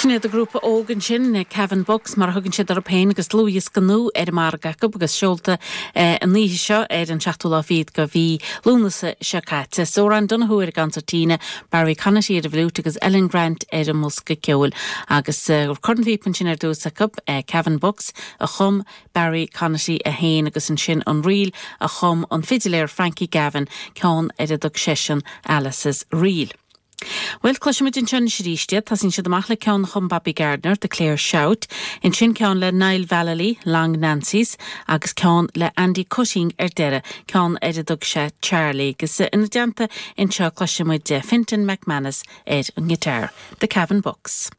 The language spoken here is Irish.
Sin iad an grúpa óg ansin, Cavan Bucks mar a thugann siad orthu féin agus dlúthdhiosca nua ar an margadh acu agus seolta an oíche seo ar an seachtú lá fichead de mhí Lúnasa seo caite. Odhrán Donoghue ar an gconsairtín, Barry Conaty ar an bhfliúit agus Ellen Grant ar an mbosca ceoil. Agus cornphíopa ansin ar dtús acu, Cavan Bucks a chum Barry Conaty é féin agus ansin an ríl a chum an fidiléir Frankie Gavin, ceann ar a dtug seisean Alice's Reel. Bhuel, cloisfimid anseo anois arís iad. Tosaíonn siad amach le ceann a chum Bobby Gardiner, The Clare Shout, ansin ceann le Niall Vallely, Long Nancy's, agus ceann le Andy Cutting ar deireadh, ceann ar a dtug sé Charlie. Agus ina dteannta anseo cloisfimid Fintan McManus ar an ngiotár. The Cavan Bucks.